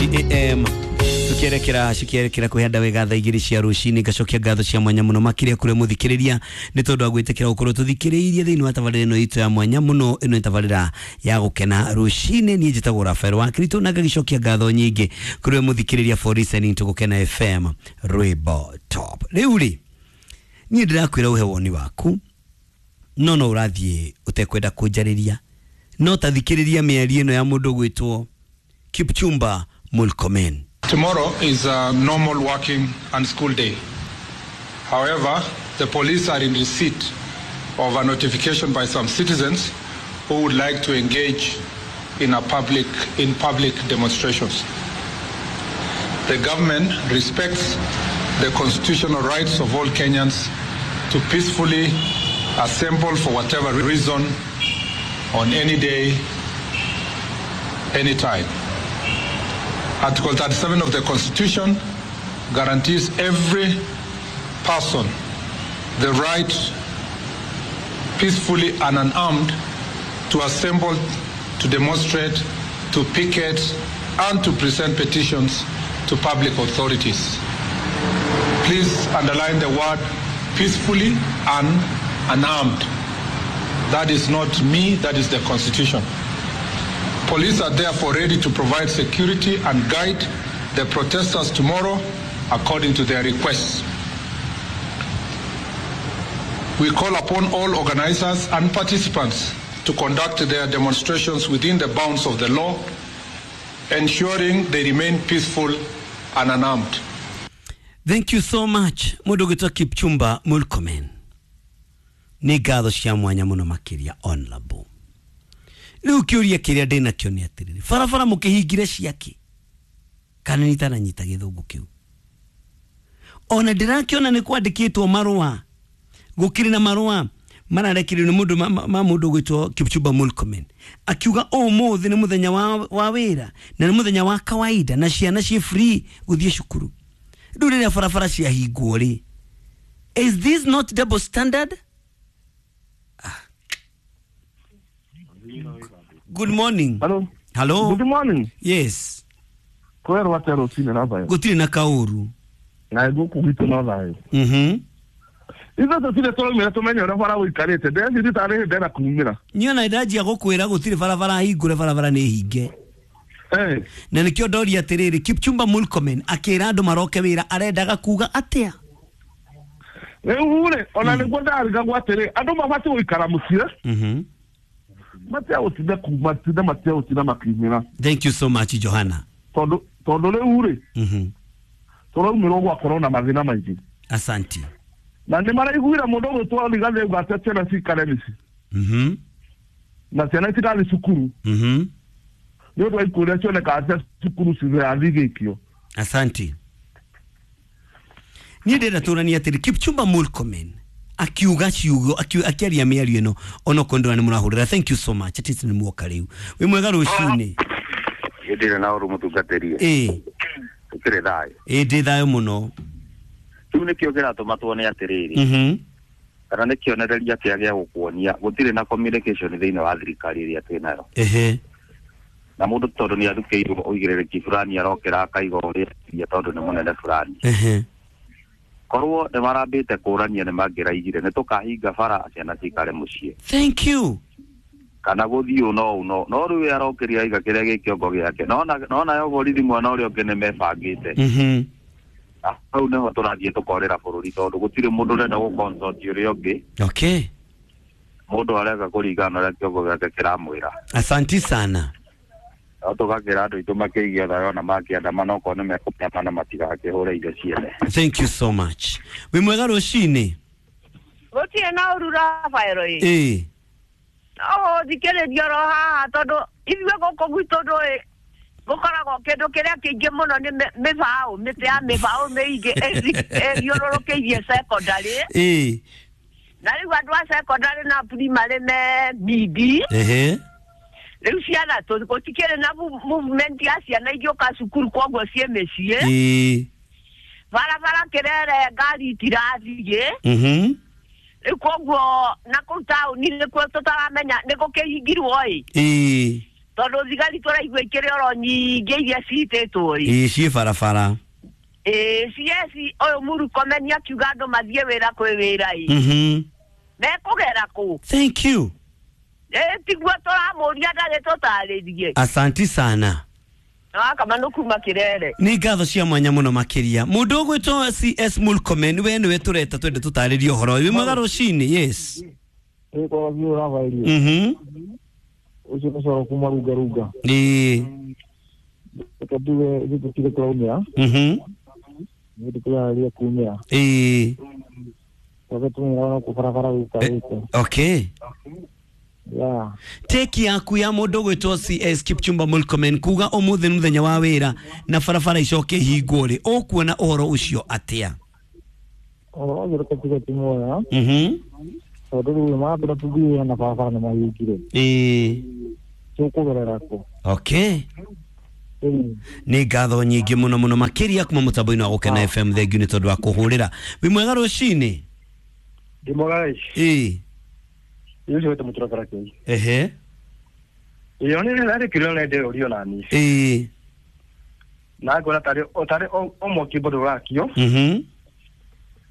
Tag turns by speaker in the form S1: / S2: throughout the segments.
S1: 7:40 am tukierekera cikierekera kwihanda wega thaa igĩrĩ cia rũcinĩ. Ngacokia ngatho cia mwanya mũno makĩria kũrĩ mũthikĩrĩria nĩ tondũ wa gwĩtĩkĩra gũkorwo tũthikĩrĩirie thĩinĩ wa tabarĩra ĩno itũ ya mwanya mũno. Ĩno nĩ tabarĩra ya gũkena rũcinĩ. Niĩ njĩtagwo Rafael wa Kristo na ngagĩcokia ngatho nyingĩ kũrĩ mũthikĩrĩria for listening to Gũkena FM rwĩmbo top. Rĩu rĩ, niĩ ndĩrakwĩra ũhe woni waku, no no ũrathiĩ ũtekwenda kũnjarĩria, no tathikĩrĩria mĩario ĩno ya mũndũ ũgwĩtwo Kipchumba Murkomen.
S2: Tomorrow is a normal working and school day. However, the police are in receipt of a notification by some citizens who would like to engage in public demonstrations. The government respects the constitutional rights of all Kenyans to peacefully assemble for whatever reason on any day, any time. Article 37 of the Constitution guarantees every person the right, peacefully and unarmed, to assemble, to demonstrate, to picket, and to present petitions to public authorities. Please underline the word peacefully and unarmed. That is not me, that is the Constitution. Police are therefore ready to provide security and guide the protesters tomorrow according to their requests. We call upon all organizers and participants to conduct their demonstrations within the bounds of the law, ensuring they remain peaceful and unarmed.
S1: Thank you so much mũndũ ũgwĩtwo Kipchumba Murkomen. Nĩ ngatho cia mwanya mũno makĩria, honorable. Rĩu kĩũria kĩrĩa ndĩ nakĩo nĩ atĩrĩrĩ, barabara mũkĩhingire ciake kana nĩ itaranyita gĩthũngũ kĩu? Ona ndĩrakĩona nĩ kwandĩkĩtwo marũa, gũkĩrĩ na marũa mararekererio nĩ mũndũ ma mũndũ ũgwĩtwo Kipchumba Murkomen akiuga ũmũthĩ nĩ mũthenya wa wĩra na nĩ mũthenya wa kawaida na ciana ciĩ free gũthiĩ cukuru. Rĩu rĩrĩa barabara ciahingwo rĩ, is this not double standard? Good morning.
S3: Hello.
S1: Hello.
S3: Good morning.
S1: Yes.
S3: Kwero atia rũcinĩ, Rafael?
S1: Gũtirĩ na kaũru.
S3: Na gũkũ gwitũ no thayũ. Ithuĩ tũtirĩ tũraumĩra tũmenye ũrĩa bara gũikarĩte. Ndĩreciria tarĩ hĩndĩ ĩrenda kumĩra.
S1: Niĩ ona ndanjia gũkwĩra gũtirĩ barabara hingũre, barabara nĩ hinge. Na nĩkĩo ndoria atĩrĩrĩ, Kipchumba Murkomen akĩra andũ maroke wĩra arendaga kuga atĩa?
S3: Rĩu rĩ, ona nĩguo ndarigagwo atĩrĩ, andũ mabatiĩ gũikara mũciĩ. Matia gũtinda kuma tinda matia gũtinda makiumĩra.
S1: Thank you so much, Johanna.
S3: Tondũ rĩu rĩ, tũraumĩrwo gwakorwo na mathĩna maingĩ.
S1: Asante.
S3: Na nĩ maraiguire mũndũ ũgwĩtwo Rigathĩ auga atĩ ciana cikare mĩciĩ. Na ciana itigathiĩ cukuru. Nĩ ũndũ wa ikuũ iria cionekaga cia cukuru cirathigĩkio.
S1: Asante. Niĩ ndĩrenda tũranie atĩrĩ, Kipchumba Murkomen akiuga ciugo, akĩaria mĩario ĩno onokorwo ndĩrona nĩ mũrahũrĩra. Thank you so much. At least nĩ muoka rĩu. Wĩ mwega rũcinĩ?
S4: Ndĩrĩ na ũru mũtungatĩri.
S1: Ĩĩ.
S4: Tũkĩrĩ thayũ.
S1: Ĩĩ, ndĩ thayũ mũno.
S4: Rĩu nĩkĩo kĩratũma tuone atĩrĩrĩ, kana nĩ kĩonereria kĩa gĩa gũkuonia gũtirĩ na communication thĩinĩ wa thirikari ĩrĩa twĩ nayo. Na mũndũ tondũ nĩ athukĩirwo ũigĩrĩrĩki fulani arokĩra akaiga ũrĩa tondũ nĩ mũnene fulani. Korwo nĩ marambĩte kũrania nĩ mangĩraigire nĩ tũkahinga bara ciana cikare mũciĩ.
S1: Thank you.
S4: Kana gũthiĩ no no no rĩu arokĩria aiga kĩrĩa gĩ kĩongo gĩake. No nayo borithi mwena ũrĩa ũngĩ nĩ mebangĩte. Hau nĩho tũrathiĩ tũkorĩra bũrũri tondũ gũtirĩ mũndũ ũrenda gũ-consult ũrĩa ũngĩ.
S1: Okay.
S4: Mũndũ areka kũringana na ũrĩa kĩongo gĩake kĩramwĩra.
S1: Asanti sana.
S4: No tũgakĩra andũ aitũ makĩigie thayũ ona makĩandamana okorwo nĩ mekũandamana matigakĩhũre indo ciene.
S1: Thank you so much. Wĩ mwega rũcinĩ?
S5: Gũtirĩ na ũru, Rafael ĩ.
S1: Ĩĩ.
S5: No thikĩrĩria oro haha tondũ ithuĩ gũkũ gwitũ ndũĩ gũkoragwo kĩndũ kĩrĩa kĩingĩ mũno nĩ mĩbaũ, mĩtĩ ya mĩbaũ mĩingĩ ĩthiũrũrũkĩirie secondary.
S1: Ĩĩ.
S5: Na rĩu andũ a secondary na primary me bidi. Rĩu ciana gũtikĩrĩ na movement ya ciana igĩũka cukuru koguo ciĩ mĩciĩ.
S1: Ĩĩ.
S5: Barabara kĩrere ngari itirathiĩ. Rĩu koguo na kũu taũni nĩkuo tũtaramenya nĩ gũkĩhingirwo ĩ.
S1: Ĩĩ.
S5: Tondũ thigari tũraigua ikĩrĩ oro nyingĩ iria citĩtwo ĩ.
S1: Ĩĩ ciĩ barabara.
S5: Ĩĩ CS ũyũ Murkomen akiuga andũ mathiĩ wĩra kwĩ wĩra ĩ. Mekũgera kũ?
S1: Thank you.
S5: Tiguo tũramũria ndarĩ tũtarĩrie.
S1: Asanti sana.
S5: Kama nukuma kirere.
S1: Nĩ ngatho cia mwanya mũno makĩria. Mũndũ ũgwĩtwo CS Murkomen we nĩwe tũreta twende tũtarĩrie ũhoro ũyũ. Wĩ mwega rũcinĩ? Yes.
S6: Ĩ kwa biũ ũravairie. Ũcio nĩ coro kuma runga runga.
S1: Ĩĩ.
S6: Reke nduge ithuĩ tũtirĩ tũraumĩra. Nĩ tũkĩrarĩria kumĩra.
S1: Ĩĩ.
S6: Twambe tũmĩra ona kũ barabara gũikarĩte.
S1: Okay.
S6: Yeah.
S1: Teki yaku ya mũndũ ũgwĩtwo CS Kipchumba Murkomen kuga ũmũthĩ nĩ mũthenya wa wĩra na barabara icoke ihingwo rĩ, ũkuona ũhoro ũcio atĩa?
S6: Ũhoro ũcio reke tuge ti mwega. Tondũ rĩu mambĩra tũthiĩ na barabara nĩ mahingire.
S1: Ĩĩ.
S6: Tũkũgerera kũ?
S1: Okay. Nĩ ngatho nyingĩ mũno mũno makĩria kuma mũtambo-inĩ wa Gũkena FM. Thengiũ nĩ tondũ wa kũhũrĩra. Wĩ mwega rũcinĩ?
S7: Ndĩ mwega.
S1: Ĩĩ.
S7: Yucio wete muturakara kei.
S1: Ehe.
S7: Iyo ni rari kiro na ndero rio nani.
S1: Ĩĩ.
S7: Na ngona tari otari o mwaki bodo rakio.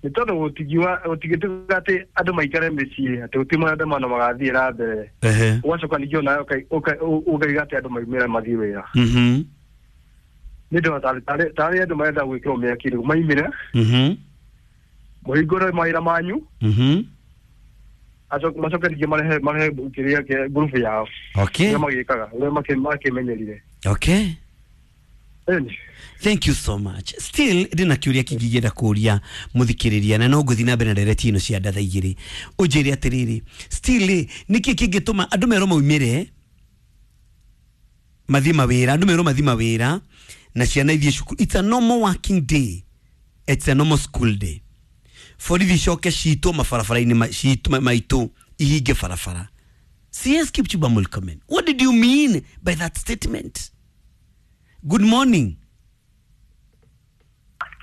S7: Ni tondu gutigiwa gutigituga ati andu maikare mĩciĩ ati guti maandamano magathiĩ na mbere.
S1: Ehe.
S7: Ugacoka ningĩ onawe ũkaiga atĩ andũ maumĩre mathiĩ wĩra. Nĩ ndona tarĩ andũ marenda gwĩkĩrwo mĩaki rĩu maimĩre. Mũhingũre mawĩra manyu. Macoke ningĩ marehe kĩrĩa kĩa ngurubu yao.
S1: Okay.
S7: Ũrĩa magĩkaga, ũrĩa makĩmenyerire.
S1: Okay. Thank you so much. Still ndina kiuria kingĩ kũria mũthikĩrĩria na no ngũthiĩ na mbere na ndereti ĩno cia ndatha igĩrĩ. Ũnjĩre atĩrĩrĩ, still nĩkĩ kĩngĩtũma andũ merwo maumĩre mathiĩ mawĩra, andũ merwo mathiĩ mawĩra na ciana ithiĩ cukuru. It's a normal working day. It's a normal school day. Borithi icoke citwo mabarabara-inĩ citũ maitũ ihinge barabara. CS Kipchumba Murkomen, what did you mean by that statement? Good morning.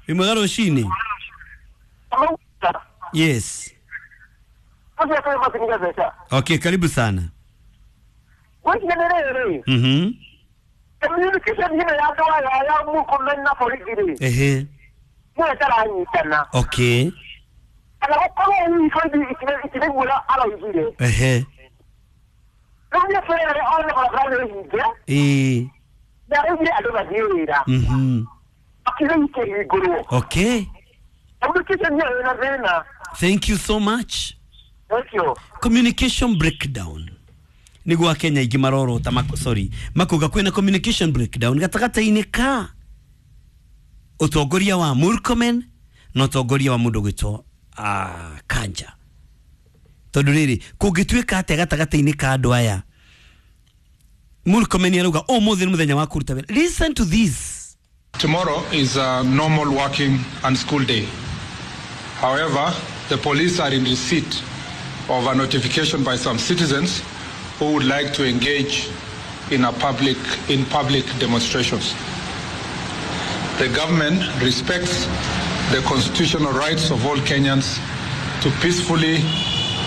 S1: Wĩ mwega rũcinĩ? Yes. Okay, karibu sana. Ehe. Okay. Ehe. Eh. Okay. Thank you so much.
S5: Thank you.
S1: Communication breakdown. Niguo Kenya ingĩ marorota sorry makuga kwĩna communication breakdown gatagatĩ-inĩ ka ũtongoria wa Murkomen na ũtongoria wa mũndũ gwĩtwo Kanja. Tondũ rĩrĩ kũngĩtuĩka atĩa gatagatĩ-inĩ ka andũ aya, Murkomen arauga ũmũthĩ nĩ mũthenya wa kũruta wĩra. Listen to this.
S2: Tomorrow is a normal working and school day. However, the police are in receipt of a notification by some citizens who would like to engage in public demonstrations. The government respects the constitutional rights of all Kenyans to peacefully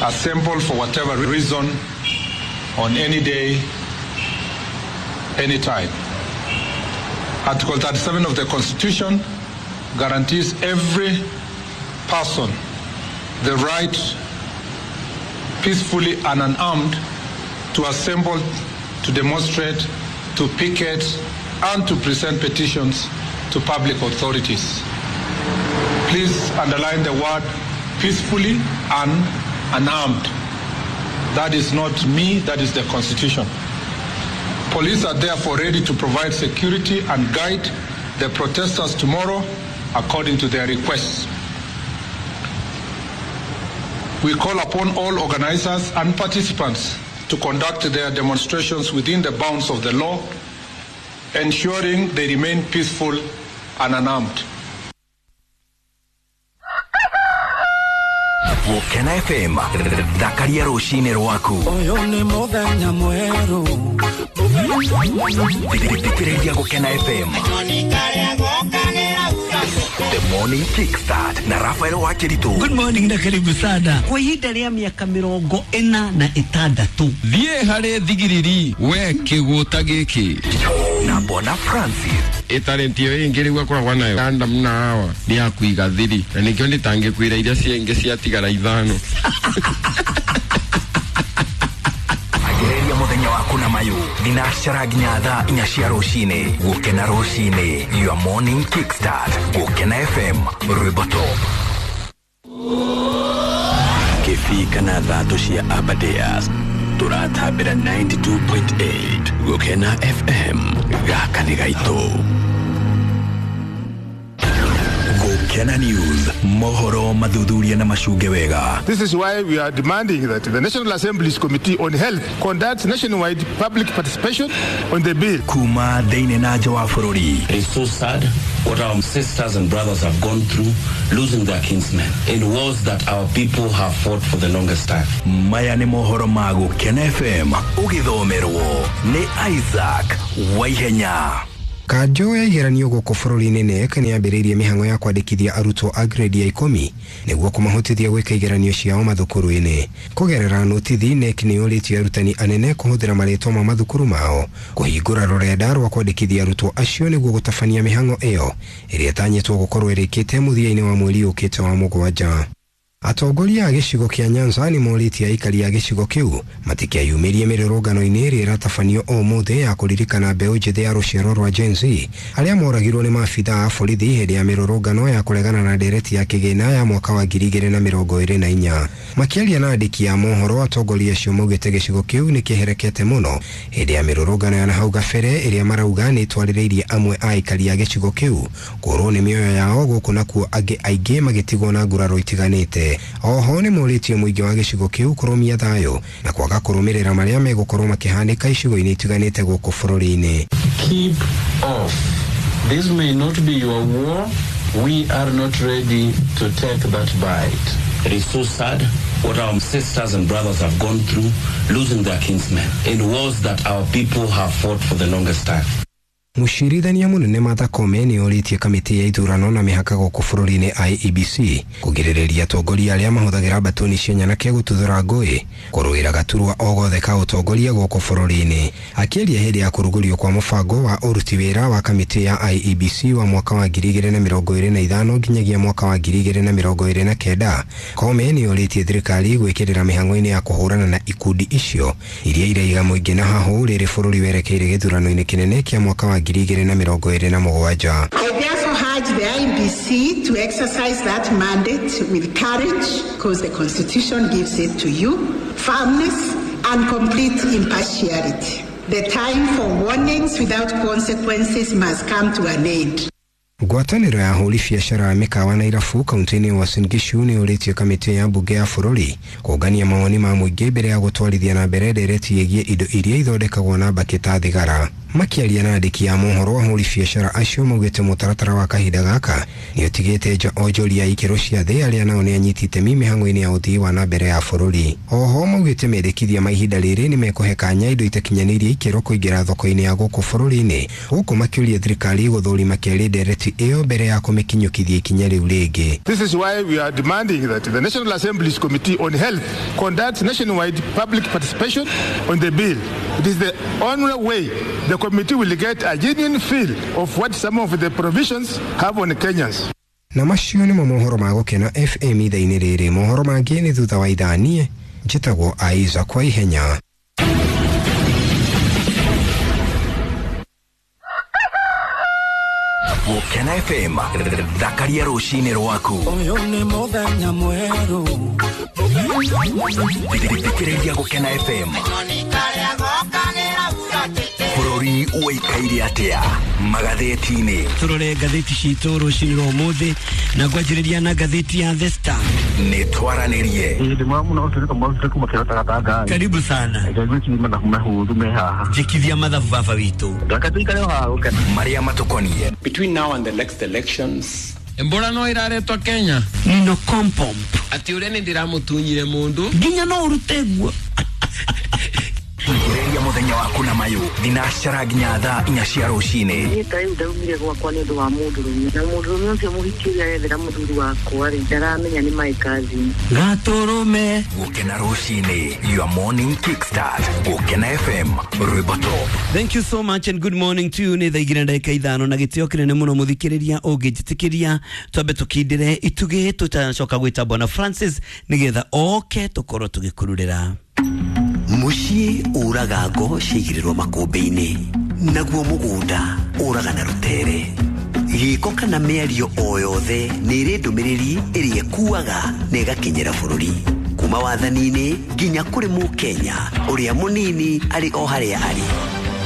S2: assemble for whatever reason on any day, any time. Article 37 of the Constitution guarantees every person the right, peacefully and unarmed, to assemble, to demonstrate, to picket, and to present petitions to public authorities. Please underline the word peacefully and unarmed. That is not me, that is the Constitution. Police are therefore ready to provide security and guide the protesters tomorrow according to their requests. We call upon all organizers and participants to conduct their demonstrations within the bounds of the law, ensuring they remain peaceful and unarmed.
S8: Gũkena FM, thakaria rũcinĩ rwaku.
S9: Ũyũ nĩ mũthenya mwerũ.
S8: Thikĩrĩria Gũkena FM. The Morning Kickstart na Rafael Wakiritu.
S1: Good morning na karibu sana. Kwa ihinda rĩa mĩaka 46
S10: thiĩ harĩ thigiriri we kĩgũta gĩkĩ
S8: na Bona Francis.
S10: Ĩtarĩnti ĩyo ĩngĩ rĩu akoragwo nayo Adam na Hawa nĩ ya kũiga thiri na nĩkĩo ndĩtangĩkwĩra iria ciengĩ ciatigara 5.
S8: Anjĩrĩria mũthenya waku na mayũ thinacara nginya thaa 4 cia rũcinĩ. Gũkena rũcinĩ, your morning kickstart. Gũkena FM, rwĩmbo top.
S11: Kĩbii kana thatũ cia Aberdares tũratambĩra 92.8 Gũkena FM gaka nĩ gaitũ.
S8: Gũkena News, mohoro mathuthuria na macunge wega.
S2: This is why we are demanding that the National Assembly's Committee on Health conducts nationwide public participation on the bill.
S8: Kuma thĩinĩ na nja wa bũrũri.
S12: It is so sad what our sisters and brothers have gone through, losing their kinsmen in wars that our people have fought for the longest time.
S8: Maya nĩ mohoro ma Gũkena FM ũgĩthomerwo nĩ Isaac Waihenya.
S13: Kanjũ ya igeranio gũkũ bũrũri-inĩ KNEC nĩ yambĩrĩirie mĩhang'o ya kwandĩkithia arutwo a grade ya 10 nĩguo kũmahotithia gwĩka igeranio ciao mathukuru-inĩ. Kũgerera notithi, KNEC nĩ yũrĩtie arutani anene kũhũthĩra marĩtwa ma mathukuru mao kũhingũra rũrenda rwa kwandĩkithia arutwo acio nĩguo gũtabania mĩhang'o ĩyo ĩrĩa ĩtanyĩtwo gũkorwo ĩrĩkĩte mũthia-inĩ wa mweri ũkĩte wa 7. Atongoria a gĩcigo kĩa Nyanza nĩ morĩtie aikari a gĩcigo kĩu matikeyumĩrie mĩrũrũngano-inĩ ĩrĩa ĩratabanio ũmũthĩ ya kũririkana mbeũ njĩthĩ ya rũciaro rwa Gen Z arĩa moragirwo nĩ maabitha a borithi hĩndĩ ya mĩrũrũngano ya kũregana na ndereti ya kĩgĩna ya mwaka wa 2024. Makĩaria na andĩki a mohoro, atongoria acio maugĩte gĩcigo kĩu nĩ kĩherekete mũno hĩndĩ ya mĩrũrũngano ya nahau gabere ĩrĩa marauga nĩ ĩtwarĩrĩirie amwe a aikari a gĩcigo kĩu kũrwo nĩ mĩoyo yao gũkũ nakuo angĩ aingĩ magĩtigwo na nguraro itiganĩte. Oho nĩ morĩtie mũingĩ wa gĩcigo kĩu kũrũmia thayũ na kwaga kũrũmĩrĩra marĩa megũkorwo makĩhanĩka icigo-inĩ itiganĩte gũkũ bũrũri-inĩ.
S12: Keep off. This may not be your war. We are not ready to take that bite. It is so sad what our sisters and brothers have gone through, losing their kinsmen in wars that our people have fought for the longest time.
S13: Mũcirithania mũnene Martha Koome nĩ orĩtie kamĩtĩ ya ithurano na mĩhaka gũkũ bũrũri-inĩ IEBC kũgirĩrĩria atongoria arĩa mahũthagĩra mbatoni cia nyanake gũtuthũra ngũĩ kũrũĩra gaturwa o gothe ka ũtongoria gũkũ bũrũri-inĩ. Akĩaria hĩndĩ ya kũrugũrio kwa mũbango wa ũruti wĩra wa kamĩtĩ ya IEBC wa mwaka wa 2025 nginyagia mwaka wa 2029, Koome nĩ orĩtie thirikari gwĩkĩrĩra mĩhang'o-inĩ ya kũhũrana na ikundi icio iria iraiga mũingĩ na hahũ rĩrĩ bũrũri werekeire gĩthurano-inĩ kĩnene kĩa mwaka wa 2027.
S14: I therefore urge the IEBC to exercise that mandate with courage, because the Constitution gives it to you, firmness and complete impartiality. The time for warnings without consequences must come to an end.
S13: Ngwatanĩro ya ahũri biacara a mĩkawa na irabu kaunti-inĩ ya Uasin Gishu nĩ ũrĩtie kamĩtĩ ya mbunge ya bũrũri kũngania mawoni ma mũingĩ mbere ya gũtwarithia na mbere ndereti ĩgiĩ indo iria ithondekagwo na mbakĩ ta thigara. Makĩaria na andĩki a mohoro, ahũri biacara acio maugĩte mũtaratara wa kahinda gaka nĩ ũtigĩte nja onjoria a ikĩro cia thĩ arĩa nao nĩ anyiti itemi mĩhang'o-inĩ ya ũthii wa na mbere ya bũrũri. Oho maugĩte mendekithia ma ihinda rĩrĩ nĩ mekũhe kanya indo itakinyanĩirie ikĩro kũingĩra thoko-inĩ ya gũkũ bũrũri-inĩ, gũkũ makĩũria thirikari gũthũrima kerĩ ndereti ĩyo mbere ya kũmĩkinyũkithia ikinya rĩu rĩngĩ.
S2: This is why we are demanding that the National Assembly's Committee on Health conducts nationwide public participation on the bill. It is the only way the committee will get a genuine feel of what some of the provisions have on Kenyans.
S13: Na macio nĩmo mohoro ma Gũkena FM ithaa-inĩ rĩrĩ. Mohoro mangĩ nĩ thutha wa ithaa. Niĩ njĩtagwo Isaac Waihenya.
S8: Gũkena FM, thakaria rũcinĩ rwaku.
S9: Ũyũ nĩ mũthenya mwerũ.
S8: Thikĩrĩria Gũkena FM. Bũrũri ũikaire atĩa magathĩti-inĩ?
S1: Tũrore ngathĩti citũ rũcinĩ rwa ũmũthĩ na ngwanjĩrĩria na ngathĩti ya The Star.
S8: Nĩ twaranĩrie.
S1: Karibu sana. Njĩkithia mathabu baba witũ.
S8: Marĩa matũkoniĩ.
S15: Between now and the next elections,
S10: Mbora no iraretwo Kenya.
S1: Nino kompomp.
S10: Ati ũrĩa nĩ ndĩramũtunyire mũndũ.
S1: Nginya no ũrute guo.
S8: Anjĩrĩria mũthenya waku na mayũ thinacara nginya thaa 4 cia rũcinĩ.
S16: Niĩ ta rĩu ndaumire gwakwa nĩ ũndũ wa mũndũrũme na mũndũrũme ũcio mũhiki ũrĩa arethera mũthuri wakwa rĩ ndaramenya nĩ my cousin.
S1: Gatũrũme.
S8: Gũkena rũcinĩ, your morning kickstart. Gũkena FM, rwĩmbo top.
S1: Thank you so much and good morning to you. Nĩ thaa 2:05 na gĩtĩo kĩnene mũno mũthikĩrĩria ũngĩnjĩtĩkĩria twambe tũkindĩre itugĩ tũtanacoka gwĩta Bwana Francis nĩgetha oke tũkorwo tũgĩkururĩra.
S17: Mũciĩ ũraga ngo ciaigĩrĩrwo makũmbĩ-inĩ, naguo mũgũnda ũraga na rũtere. Gĩko kana mĩario o yothe nĩ ĩrĩ ndũmĩrĩri ĩrĩa ĩkuaga na ĩgakinyĩra bũrũri. Kuma wathani-inĩ nginya kũrĩ mũkenya ũrĩa mũnini arĩ o harĩa arĩ.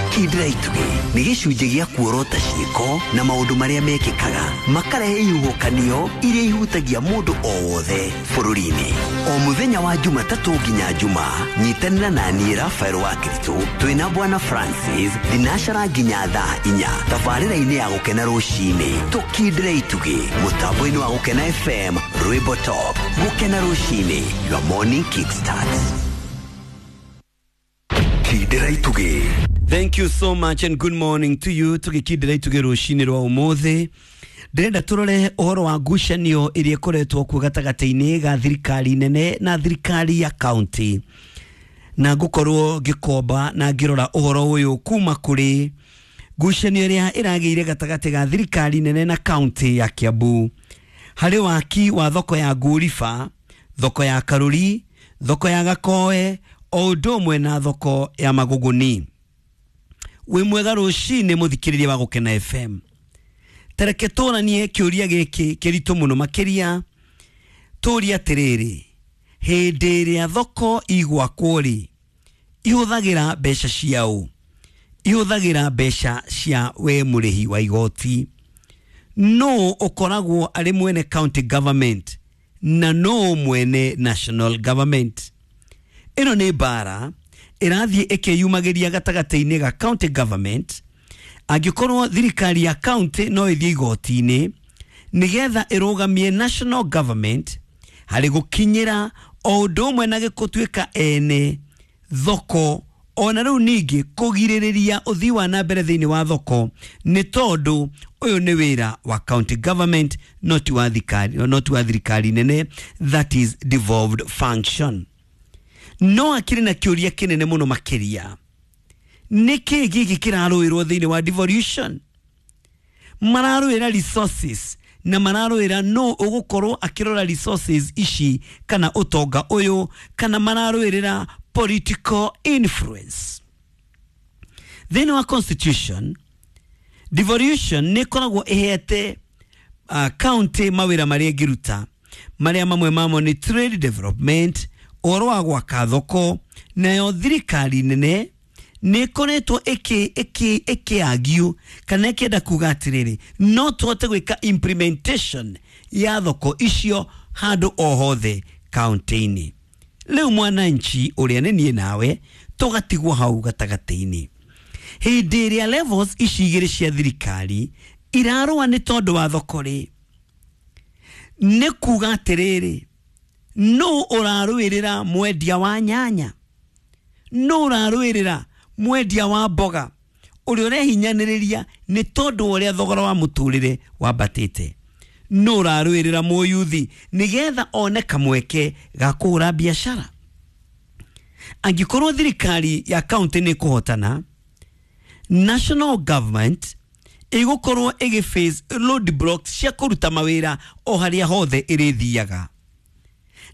S17: Kindĩra itugĩ nĩ gĩcunjĩ gĩa kuorota ciĩko na maũndũ marĩa mekĩkaga makarehe ihuhũkanio iria ihutagia mũndũ o wothe bũrũri-inĩ. O mũthenya wa Jumatatũ nginya Jumaa, nyitanĩra na niĩ Rafael wa Kristo twĩna Bwana Francis thinacara nginya thaa 4 tabarĩra-inĩ ya Gũkena rũcinĩ. Tũkindĩre itugĩ mũtambo-inĩ wa Gũkena FM, rwĩmbo top. Gũkena rũcinĩ, your morning kickstart.
S8: Kindĩra itugĩ.
S1: Thank you so much and good morning to you. Tũgĩkindĩra itugĩ rũcinĩ rwa ũmũthĩ, ndĩrenda tũrore ũhoro wa ngucanio ĩrĩa ĩkoretwo kuo gatagatĩ-inĩ ga thirikari nene na thirikari ya county, na ngũkorwo ngĩkomba na ngĩrora ũhoro ũyũ kuma kũrĩ ngucanio ĩrĩa ĩragĩire gatagatĩ ga thirikari nene na county ya Kiambu harĩ waki wa thoko ya Ngũriba, thoko ya Karuri, thoko ya Gakoe o ũndũ ũmwe na thoko ya Magũgũni. Wĩ mwega rũcinĩ mũthikĩrĩria wa Gũkena FM. Tareke tũranie kĩũria gĩkĩ kĩritũ mũno makĩria, tũrie atĩrĩrĩ, hĩndĩ ĩrĩa thoko igwakwo rĩ, ihũthagĩra mbeca ciaũ? Ihũthagĩra mbeca cia we mũrĩhi wa igoti. Nũ ũkoragwo arĩ mwene county government na nũ mwene national government? Ĩno nĩ mbara ĩrathiĩ ĩkĩyumagĩria gatagatĩ-inĩ ga county government. Angĩkorwo thirikari ya county no ĩthiĩ igoti-inĩ nĩgetha ĩrũgamie national government harĩ gũkinyĩra o ũndũ ũmwe na gũtuĩka ene thoko, ona rĩu ningĩ kũgirĩrĩria ũthii wa na mbere thĩinĩ wa thoko, nĩ tondũ ũyũ nĩ wĩra wa county government, not wa thirikari nene, that is devolved function. No akĩrĩ na kĩũria kĩnene mũno makĩria, nĩkĩ gĩkĩ kĩrarũĩrwo thĩinĩ wa devolution? Mararũĩra resources na mararũĩra no ũgũkorwo akĩrora resources ici kana ũtonga ũyũ, kana mararũĩrĩra political influence. Thĩinĩ wa constitution, devolution nĩ ĩkoragwo ĩhete county mawĩra marĩa ĩngĩruta, marĩa mamwe mamo nĩ trade development, ũhoro wa gwaka thoko. Nayo thirikari nene nĩ ĩkoretwo ĩkĩagio kana ĩkĩenda kuga atĩrĩrĩ, no tũhote gwĩka implementation ya thoko icio handũ o hothe kaunti-inĩ. Rĩu mwananchi ũrĩa nĩ niĩ nawe tũgatigwo hau gatagatĩ-inĩ. Hĩndĩ ĩrĩa levels ici igĩrĩ cia thirikari irarũa nĩ tondũ wa thoko rĩ, nĩ kuga atĩrĩrĩ, nũ ũrarũĩrĩra mwendia wa nyanya? Nũ ũrarũĩrĩra mwendia wa mboga ũrĩa ũrehinyanĩrĩria nĩ tondũ wa ũrĩa thogora wa mũtũrĩre wambatĩte? Nũ ũrarũĩrĩra mũyuthi nĩgetha one kamweke ga kũhũra biacara? Angĩkorwo thirikari ya county nĩ kũhotana, national government ĩgũkorwo ĩgĩ face road blocks cia kũruta mawĩra o harĩa hothe ĩrĩthiaga.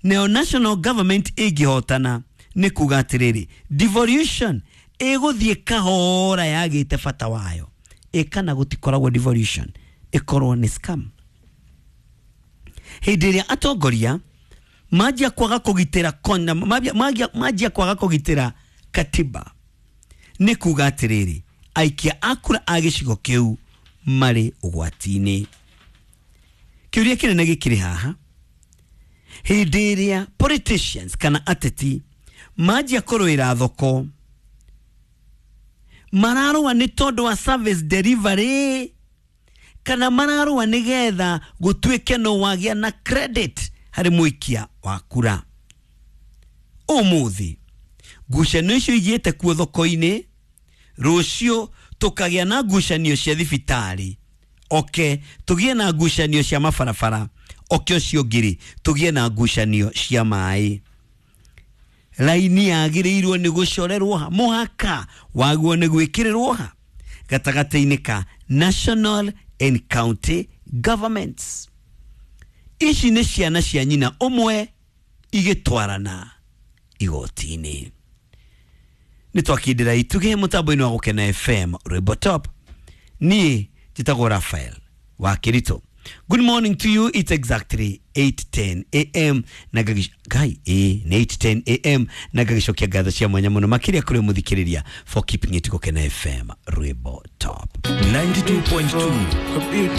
S1: Nayo national government ĩngĩhotana nĩ kuga atĩrĩrĩ, devolution ĩgũthiĩ kahora yagĩte bata wayo. Ĩkana gũtikoragwo devolution, ĩkorwo nĩ scam. Hĩndĩ ĩrĩa atongoria manjia kwaga kũgitĩra kona, manjia kwaga kũgitĩra katiba, nĩ kuga atĩrĩrĩ, aikia a kura a gĩcigo kĩu marĩ ũgwati-inĩ. Kĩũria kĩnene gĩkĩrĩ haha, hĩndĩ ĩrĩa politicians kana ateti manjia kũrũĩra thoko, mararũa nĩ tondũ wa service delivery kana mararũa nĩgetha gũtuĩke no wagĩa na credit harĩ mũikia wa kura? Ũmũthĩ Ngucanio icio igĩte kuo thoko-inĩ, rũciũ tũkagĩa na ngucanio cia thibitarĩ, oke tũgĩe na ngucanio cia mabarabara, oke ũcio ũngĩ tũgĩe na ngucanio cia maĩ. Raini yagĩrĩirwo nĩ gũcorerwo ha, mũhaka waguo nĩ gwĩkĩrĩrwo ha gatagatĩ-inĩ ka national and county governments. Ici nĩ ciana cia nyina ũmwe igĩtwarana igoti-inĩ. Nĩ twakindĩra itugĩ mũtambo-inĩ wa Gũkena FM Rwĩmbo Top. Niĩ njĩtagwo Raphael wa Kirito. Good morning to you. It's exactly 8:10 am na ngai nĩ 8:10 am na ngagicokia ngatho cia mwanya mũno makĩria kũrĩ mũthikĩrĩria for keeping it Gũkena FM Rwĩmbo Top.
S8: 92.2.